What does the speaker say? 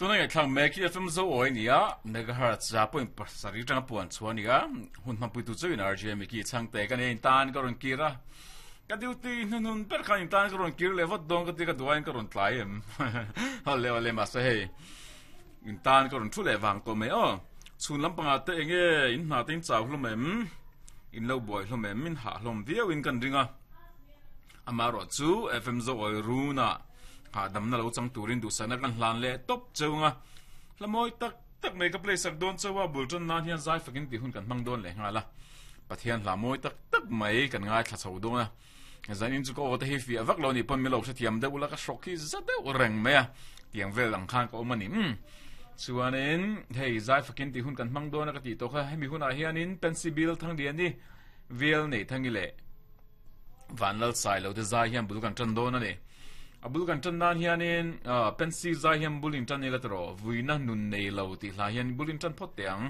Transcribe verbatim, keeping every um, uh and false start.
Tuna ngaihthlak mek hi F M Zo awi nia, megahertz za point pasarih atanga puan chhuah ania, hun hmangpui tu chauhin R J Mickey chhangte ka nei intan ka rawn kir a, ka duty hnuhnun ber khan intan ka rawn kir leh vat dawn ka ti ka duain ka rawn tlai em awle awle mahse hei intan ka rawn thu leh vang tawh mai aw. Chhun lampangah te enge in hna te in chau hlawm em, in lo buai hlawm em, in hah hlawm viau in kan ring a. Amaherawh chu F M Zo awi runa hahdamna lo chang turin duhsakna kan hlan leh tawp cheu nga. Hla mawi tak tak mai ka play sak dawn cheu a, bul tan nan hian zai fakin tih hun kan hmang dawn leh nghal a. Pathian hla mawi tak tak mai kan ngaithla chho dawn a. Zanin chu ka aw te hi fiah vak lo nih pawn milo hrethiam deuh ula, ka hrawk hi za deuh reng mai a, tiang vel ang khan ka awm a ni. Umm chuanin hei zai fakin tih hun kan hmang dawn a ka tih tawh kha, hemi hunah hianin Pensy Bill Thangliani Vel Neih Thangi leh Vanlal Sai lo te zai hian bul kan tan dawn a ni. A bul kan tan nan hianin Pensy zai hian bul in tan ila tawh, Vuina Nun Nei Lo tih hla hian bul in tan phawt teh ang.